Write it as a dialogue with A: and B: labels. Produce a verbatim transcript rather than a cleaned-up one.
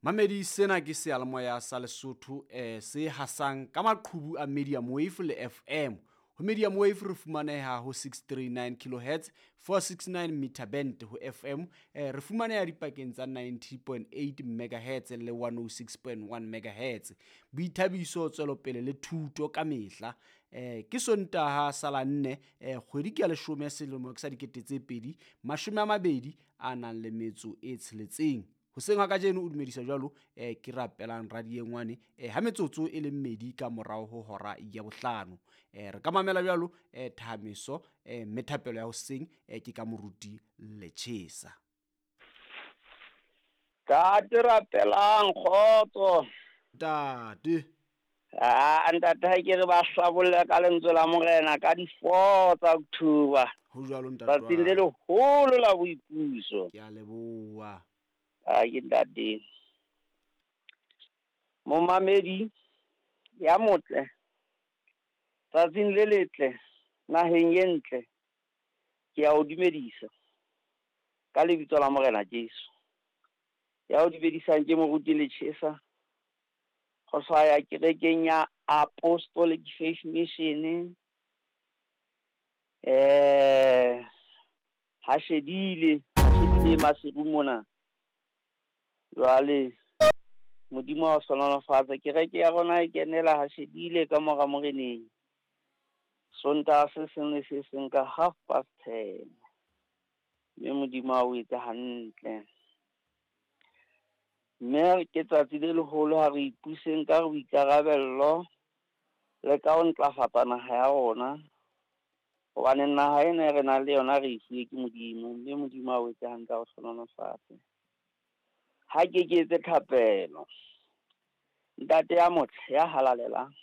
A: Mamedi sena ke seyalemoya sa Lesotho eh se hasang ka maqhubu a Medium Wave le F M. Ho Medium Wave re fumaneha ho six three nine kilohertz, four six nine meter band ho F M. Eh, re fumaneha dipakeng tsa ninety point eight megahertz le one oh six point one megahertz. Boithabiso, tswelopele le thuto ka mehla. Eh, ke Sontaha sa la nne, eh, kgwedi ke ya leshome selemo ke sa dikete tse pedi, mashome a mabedi a nang le metso e tsheletseng. Hoseng ha kajeno o dumedisa jwalo, eh, ke rapelang radiengwane, eh, ha metsotso e le mmedi ka morao ho hora ya bohlano. Eh, re ka mamela jwalo, eh, thahamiso, eh, mme thapelo ya hoseng, eh, ke ka moruti Lechesa.
B: Ntate rapelang kgotso.
A: Ntate.
B: Ah, ntate ha ke re ba hlabolle ka lentswe la Morena ka di four tsa October.
A: Ho jwalo ntate.
B: Tsatsing le leholo la boipuso.
A: Ke a leboha.
B: Ah, ke ntate. Momamedi ya motle. Tsatsing le letle naheng e ntle. Ke a o dumedisa ka lebitso la Morena Jesu. Ya o dumedisang ke moruti Lechesa. Go hlaya kerekeng ya Apostolic Faith Mission. Eh, ha shedile, ha shedile Maseru mona. Jwale Modimo wa hlohonolofatsa kereke ya rona e kenela ha shedile ka mora moreneng. Sontaha se seng le se seng ka half past ten. Mme Modimo a o etse hantle. Mme ke tsatsi le leholo ha re ipuseng ka boikarabello le ka ho ntlafatsa naha ya rona. Hobane naha ena e re nang le yona re e fuwe ke Modimo, mme Modimo a o etse hantle a o hlohonolofatse. Ha ke ke etse thapelo. Ntate ya motle ya halalelang,